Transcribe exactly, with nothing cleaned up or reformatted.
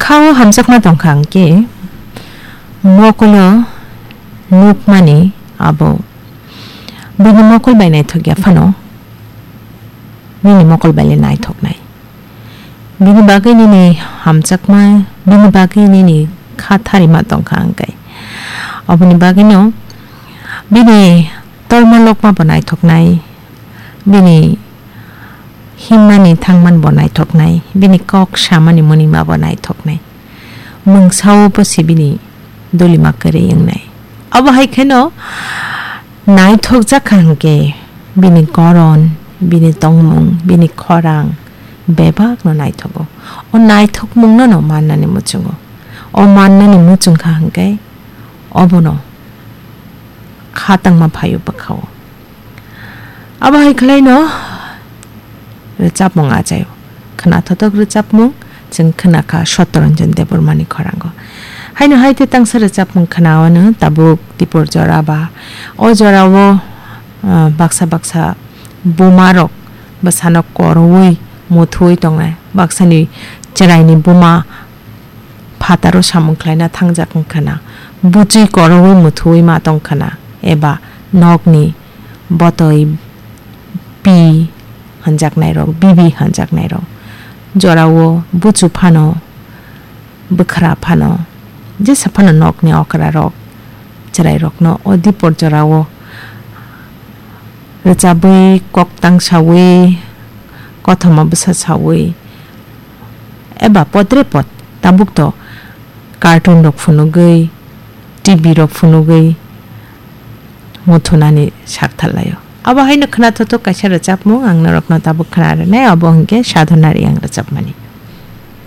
Khao hamjakma tongkha hwnkhe, mokolo nukmani abo bini mokol bai naithok ya phano, nini mokol bai le naithoknai. Bini bagwi nini hamjakma, bini bagwi nini kha tharima tongkha hwnkhe. Oboni bagwino bini torma lokma bo naithoknai, bini himmani thangman bo naithoknai, bini kok samani munima bo naithoknai. Mungsao bo se bini dolima kwrwi wngnai. Abo hai kheno naithokjak kha hwnkhe bini goron, bini tongmung, bini khorang bebakno naithogo. O naithokmungno no mannani muchungo. O mannani muchung kha hwnkhe obono kha tangma phaio bwkhao. Abo hai khwlaino rwchapmung achaio. Khwnathothok rwchapmung chwng khwnakha Sottoranjan Debbarmani khorango. Haino hai tei tangsa rwchapmung khwnawano tabuk Tipor jora ba o jorao, ah, baksa baksa bumarok bwsano koroui muthuui tongnai. Baksani chwraini buma phataro samung khlaina thangjak wngkha na, buchwi koroui muthuui ma tongkha na, eba nokni botoi pi hwnjaknairok, bibi hwnjaknairok, jorao buchu phano, bwkhra phano, jesa phano nokni okrarok, chwrairokno o dipor jorao rwchabwi, koktang saui, kothoma bwsa saui, eba podre pod tabuk to cartoon rok phunugwi, T V rok phunugwi muthunani sak tharlaio. Abo haino khwnathotho kaisa rwchapmung ang norokno tabuk khwna rwnai, abo hwnkhe Sadhana Reang rwchapmani.